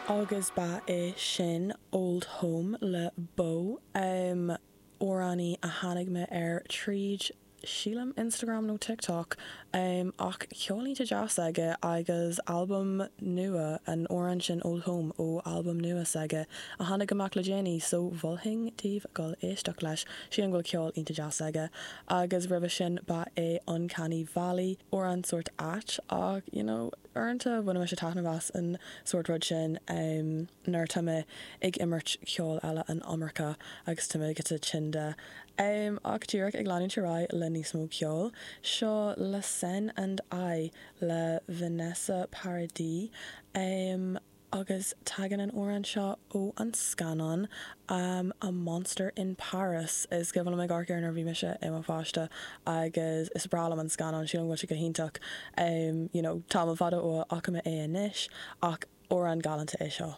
Agus ba é sin Old Home le Beau, amhránaí a tháinig mé air tríd, sílim, Instagram nó TikTok, ach ceol iontach deas aige agus albam nua, an amhrán sin Old Home ó albam nua s'aige a tháinig amach le déanaí, so mholfainn daoibh dul éisteacht leis, sílim go bhfuil ceol iontach deas aige. Agus roimhe sin ba é Uncanny Valley, amhrán sórt ait ach, you know, Uaireanta bainim mise taitneamh as an sórt rud sin nuair atá mé ag imirt ceol eile an iomarca agus tá mé giota tinn de. Ach díreach ag leanúint ar aghaidh le níos mó ceoil, seo La Seine and I le Vanessa Paradis. Agus tagann an amhrán seo ó an scannán A Monster in Paris. Is cuimhin liom ag amharc air nuair a bhí mise i mo pháiste agus is breá liom an scannán, sílim go bhfuil sé go hiontach. You know, tamall fada ó a fhaca mé é anois ach amhrán galánta é seo.